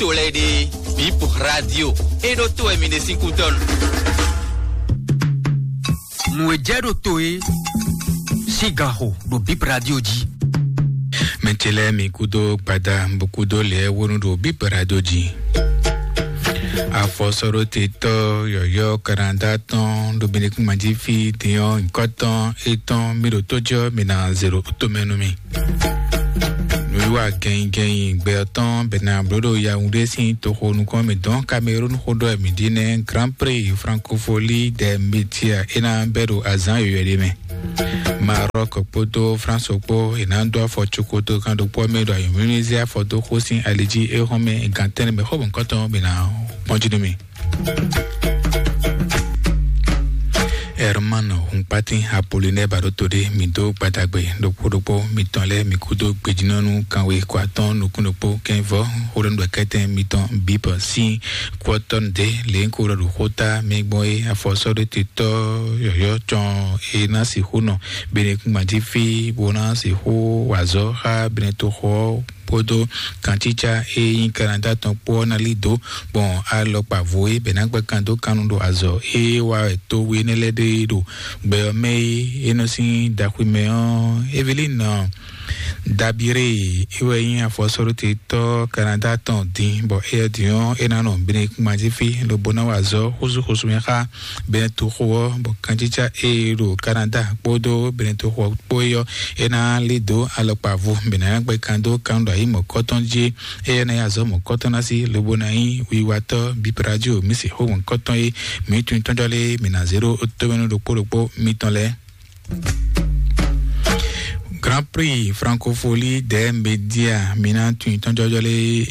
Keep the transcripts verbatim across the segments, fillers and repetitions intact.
to lɛ́ɛ ɖe, Bip Radio. É ɖó to wɛ mi ɖe sín kútɔ́nu. Nǔ e jɛ ɖo to é sín ganxo ɖo Bip Radio jí. Mɛ ce lɛ́ɛ mi kúdó gbada, bó kúdó lɛ́ɛ wónú ɖo Bip Radio jí. Afɔsɔɖótetɔ́ yɔ̌yɔ́ Kanada tɔn ɖo Benekúnmají fí din ɔ́, nyǐkɔ tɔn étɔn mi ɖo tó jɔ mi ná zero tomɛ nú mi. Nǔwiwa gɛnnyigɛnnyi gbɛ ɔ́ tɔn bɛ ná bló ɖo Yaoundé sín toxo nukɔn mǐtɔn Cameroun xó ɖɔ mǐ ɖi nɛ́ Grand Prix Francophonie des Médias é ná bɛ́ ɖo azǎn yɔ̌yɔ́ ɖé mɛ. Maroc kpódó France kpó è nǎ dó afɔ cokoto kan ɖokpó mɛ ɖo ayǐmlímlí zé afɔ dó xó sín ali jí é hɔn mɛ gantɛ́nɛ mɛ xó bɔ̌nkɔ́tɔn bǐ ná kpɔ́n jí nú mì. Herman Hunkpatin Apollinaire Baɖoto ɖé mi dó gbadagbe ɖokpó ɖokpó mitɔn lɛ́ɛ mi kúdó gbejínɔ́nú kanwe kɔ atɔ́ɔ́n nukún ɖokpó kɛ́nvɔ xó ɖɔ nú ɖɔkɛ́tɛn mitɔn Bip sín kú ɔ́ tɔ́ nǔ dé lě ko ɖɔ ɖo xóta mɛ gbɔn é afɔsɔ́ɖótetɔ́ yɔ̌yɔ́ cɔn é ná sixú nɔ Benekúnmají fí bó ná sixú wa azɔ̌ xá Benetoxo ɔ́ kpódó kancícá e nyí Kanada tɔn kpó ɔ́ ná lí dǒ gbɔn alɔkpa vo é bɛ ná gbɛ́ kan dó kannu ɖo azɔ̌ e wa wɛ to we énɛ́ lɛ́ɛ ɖe ɖo gbɛ ɔ́ mɛ é é nɔ sín daxwi mɛ ɔ́. Evelin Dabiré é wɛ nyí afɔsɔ́ɖótetɔ́ Kanada tɔn din, bɔ éyɛ́ din ɔ́ é ná nɔ Benekúnmají fí lobo ná wa azɔ̌ xúzúxúzú mɛ xá Benetoxo ɔ́, bɔ kancícá e ɖo Kanada kpódó Benetoxo kpó é ɔ́ é ná lí dǒ alɔkpa vo bɛ ná gbɛ́ kan dó kan ɖo ayǐ mɔ̌kɔtɔn jí. Éyɛ́ ná nyí azɔ̌ mɔ̌kɔtɔn ná sí lobo ná nyí wiwatɔ́ Bip Radio mǐ sixú mɔ̌kɔtɔn é mǐ tunwun tɔ́njɔ́ lé mǐ ná zé ɖó tomɛnu ɖokpó ɖokpó mitɔn lɛ́ɛ. Grand Prix Francophonie des Médias mi ná tún tɔnjɔjɔ lé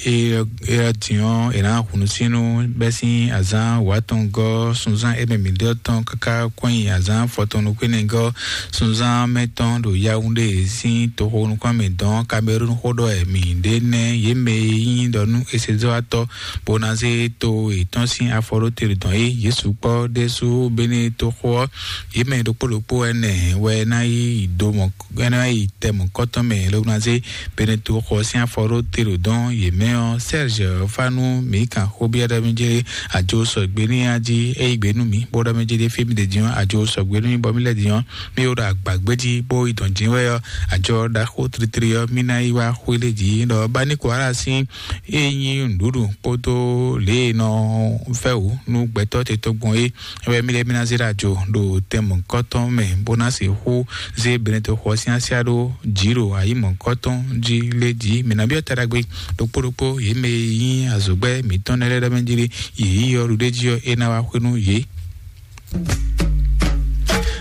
é diɔn é ná hunu sínú bɛ́ sín azán wǎtɔngɔ́ sunzán émɛ mǐ ɖɔ tɔn káká kɔnyi azán fɔtɔnukúnɛgɔ́ sunzán mɛtɔn ɖo Yaoundé sín toxo nukún mɛ dɔn Cameroun xó ɖɔ mǐ ɖe nɛ́ yě mɛ e nyí ɖɔ nú esezɔ́watɔ́ bó ná zé to yětɔn sín afɔ ɖó te ɖo dɔn é Yesu kpɔ́ ɖésú béné toxo ɔ́ yě mɛ ɖokpó ɖokpó ɛnɛ wɛ ná yi do mɔ ná yi tɛ mɔ̌kɔtɔn mɛ lobuna zé Benetoxo sín afɔ ɖó te ɖo dɔn yě mɛ ɔ́. Serge Fanu mǐ kan xó byɔ́ ɖɔ mí jɛ ajo sɔgbe ní ya jí é yí gbe nú mǐ bó ɖɔ mí jɛ ɖé fí mí ɖe din ɔ́ ajo sɔgbe nú mí bɔ mí lɛ́ din ɔ́ mí wo ɖo agbǎgbé jí bó yi dɔn jǐ wɛ ɔ́ ajɔ ɖaxó tlitli ɔ́ mí ná yi wá xwé lé jí ɖɔ bá ní kó ara sín é nyí nǔɖuɖu kpódó lě e nɔ fɛ wǔ nú gbɛtɔ́ te tɔn gbɔn é wɛ mí lɛ́ mí ná zé ɖo ajo ɖo tɛn mɔ̌kɔtɔn mɛ bó ná sixú zé Benetoxo sín asiá ɖó jǐ ɖo ayǐ mɔ̌kɔtɔn jí lé jí. Mǐ ná byɔ́ ta ɖagbe ɖokpó ɖokpó yě mɛ e nyí azɔ̌gbɛ́ mǐtɔn nɛ́ lɛ́ɛ ɖɔ mɛ jí ɖé yě yí ɔ́ ɖuɖéjí ɔ́ é ná wá xwé nú yě.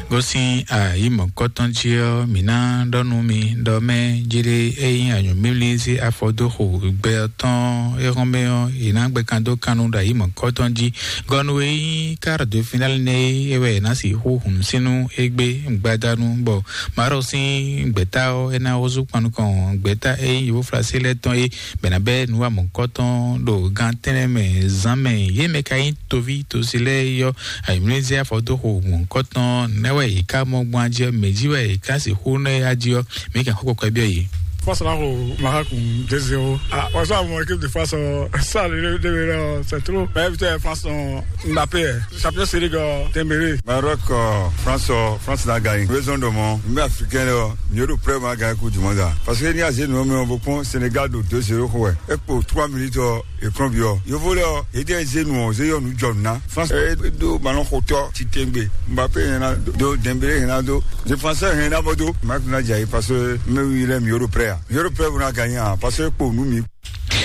Gosín ayǐ mɔ̌kɔtɔn jí ɔ́, mǐ ná ɖɔ nú mi ɖɔ mɛ jí ɖé é nyí anyǔmímlí zé afɔ dó xo gbɛ ɔ́ tɔn é hɔn mɛ ɔ́, yě ná gbɛ kan dó kannú ɖo ayǐ mɔ̌kɔtɔn jí. Gɔnu e nyí quart de finale nɛ́ é wɛ è nǎ sixú hun sínú égbé gbadanu, bɔ Maroc sín gbɛ̌ta ɔ́, é ná húzú kpan nukɔn gbɛ̌ta e nyí Yovóflasi lɛ́ɛ tɔn é, bɛ ná bɛ́ nǔ wa mɔ̌kɔtɔn ɖo gan tɛ́nɛ mɛ zán mɛ. Yě mɛ ka nyí toví tosi lɛ́ɛ é ɔ́, ayǐmlízɛ afɔdóxo mɔ̌kɔtɔn nɛ́ wɛ yě ká mɔ gbɔn ají ɔ́, mɛ̌ jí wɛ yě ká sixú nɔ é ají ɔ́, mǐ kɛn xó kɔkɔ byɔ́ yě. Force là au Maroc deux zéro. Ah, on joue à mon équipe de France, euh, ça, le, le, le, le, c'est trop. Mais putain, France, on, Mbappé, euh, champion série, euh, Dembélé. Maroc, euh, France, euh, France n'a gagné. Raison de mon, mais africain, là, mieux de près, on a gagné Coupe du Monde, là. Parce que ni a zé nous, mais on beaucoup, Sénégal, de deux zéro, quoi. Et pour trois minutes, euh, écran bio. Yo volé, euh, et des zé nous, on zé, nous, John, na. France, euh, do, ballon, hauteur, Titengbe. Mbappé, il y en a, do, Dembélé, il y en a, do. Défenseur, il y en a, do. Marc Nadjaï, parce que, mais oui, il est mieux de près, hein. Mieux de près, on a gagné, hein. Parce que pour nous, mi-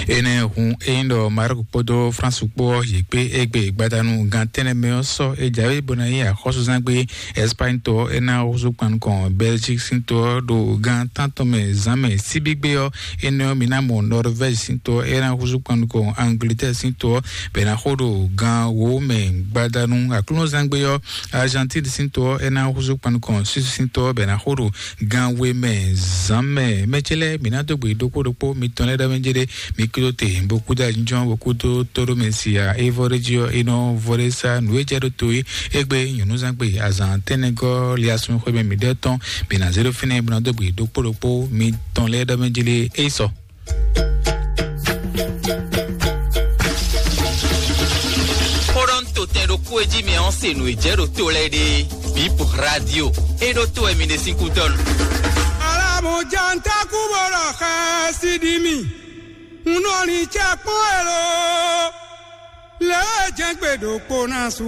Énɛ́ hun é nyí ɖɔ Maroc kpódó France kpó ɔ́, yě kpé égbé gbadanu gan tɛ́nnɛ mɛ ɔ́ sɔ́ é jǎwe bó ná nyí axɔ́súzán gbé Espagne to ɔ́, é ná húzú kpan nukɔn Belgique sín to ɔ́ ɖo gan tántɔn mɛ zǎn mɛ síbígbé ɔ́, énɛ́ ɔ́, mi ná mɔ Norvège sín to ɔ́, é ná húzú kpan nukɔn Angleterre sín to ɔ́, bɛ ná xó ɖo gan wǒ mɛ gbadanu. Aklúnɔzán gbé ɔ́, Argentine sín to ɔ́, é ná húzú kpan nukɔn Suisse sín to ɔ́, bɛ ná xó ɖo gan we mɛ zǎn mɛ. Mɛ ce lɛ́ɛ, mǐ ná dó gbe ɖokpó ɖokpó mitɔn lɛ́ɛ ɖɔ mɛ jɛ ɖé, mi kúdó te, bó kúdó ajínjɔ́n, bó kúdó tóɖó mɛ sia, é vɔ ɖé jí ɔ́, é nɔ vɔ ɖé sá, nǔ e jɛ ɖó to é, égbé nyɔ̌núzán gbe azǎn tɛ́nnɛgɔ́ liasun xwé mɛ mǐ ɖɔ tɔn, mǐ ná zé ɖó fínɛ́, bó ná dó gbe ɖokpó ɖokpó mitɔn lɛ́ɛ ɖɔ mɛ jɛ ɖé, é yi sɔ. Tɛn ɖokpó e jí mi ɔ́ se nǔ e jɛ ɖo to lɛ́ɛ ɖe. Bip radio. E ɖo to wɛ mi ɖe sín kú dɔn. Alamu janta kú bó ɖɔ xɛ si ɖi mi. Un nɔ lin cɛ kpɔn elo. Lě e jɛ́n gbe ɖokpó ná su.